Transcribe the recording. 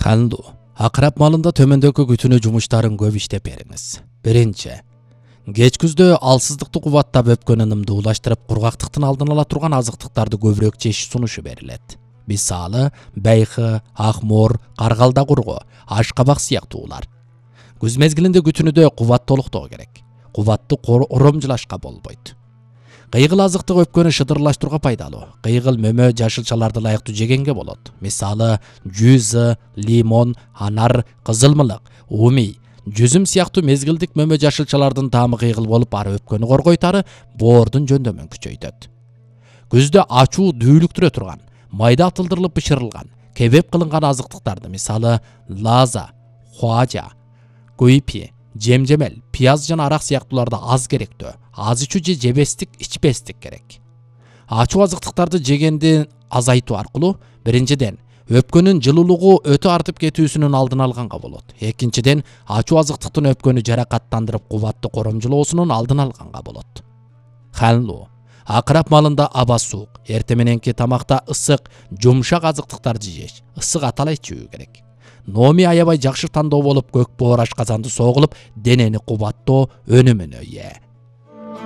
Ханду, акырап малында төмөндөгү күтүнүү жумуштарын көп иштеп бериңиз. Биринчи, кеч күздө алсыздыкты кубаттап өпкөн ынымды улаштырып, кургактыктын алдын ала турган азыктыктарды көбүрөөк жеш сунушу берилет. Мисалы, байхы, акмор, каргалда кургу, ашкабак сыяктуулар. Күз мезгилинде күтүнүдө кубат толуктоо керек. Кубатты оромжулашка болбойт. Кыйгыл азыктык өпкөнү шыдырлаштырууга пайдалуу. Кыйгыл мөмө жашылчаларды ылайыктуу жегенге болот. Мисалы, жүзү, лимон, анар, кызылмылык, умий, жүзүм сыяктуу мезгилдик мөмө жашылчалардын таамы кыйгыл болуп, ары өпкөнү коргойт, ары боордун жөндөмүн күчөйтөт. Күздө ачуу дүүлүктүрө турган, майда атылдырылып бышырылган, кебеп кылынган азыктыктарды, мисалы, лаза, хуажа, куйпи, жемжемел, пияз жана арак сыяктууларды аз керектөө, аз ичүү же жебестик, ичпестик керек. Ачуу азыктыктарды жегенди азайтуу аркылуу биринчиден өпкөнүн жылуулугу өтө артып кетүүсүнүн алдын алганга болот. Экинчиден, ачуу азыктыктын өпкөнү жаракаттандырып, кубатты коромжулоосунун алдын алганга болот. Ханлуу, акырап малында аба суук, эртең мененки тамакта ысык, жумшак азыктыктарды жеш, ысык атала ичүү керек. Номи аябай жакшы тандоо болуп, көк боор ашказанды согулуп, денени кубаттоо өнүмүнө ээ.